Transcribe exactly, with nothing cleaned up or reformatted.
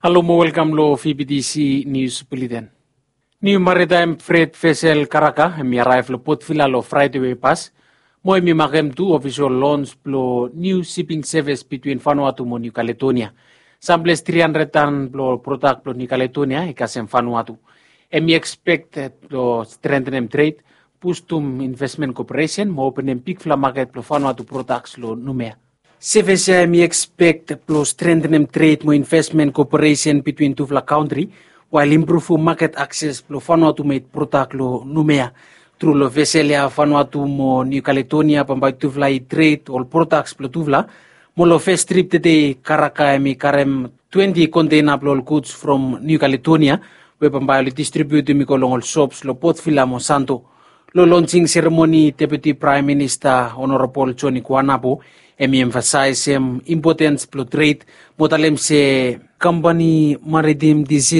Halo mo welkam lo V B T C News Bulletin. Niu maritaem fret vesel Karaka hemi araev lo Port Vila lo Fraede we i pas, mo hemi makem tu ofisol lons blo niu siping sevis bitwin Vanuatu mo Niu Kaledonia. Samples tri handred tan blo prodak blo Niu Kaledonia i kasem Vanuatu. Hemi ekspekted blo strengtenem tred, bustum invesmen koperesen mo openem bigfala maket blo Vanuatu prodaks lo Numea. Sevis ya hemi ekspekt blo strengtenem tred mo invesmen koperesen bitwin tufala kantri, wael impruvum maket akses blo Vanuatu med prodak lo Numea. Tru lo vesel ya Vanuatu mo Niu Kaledonia bambae tufala i tred ol prodaks blo tufala. Mo lo fes trip tede Karaka hemi karem twenti konteina blo ol guds from Niu Kaledonia, we bambae oli distribiutum i go long ol sops lo Port Vila mo Santo. Lo lonsing seremoni Deputi Praem Minista Honorabol Joni Kuanabo hemi emfasaesem impotens blo tred, mo talem se kampani Maritim Disil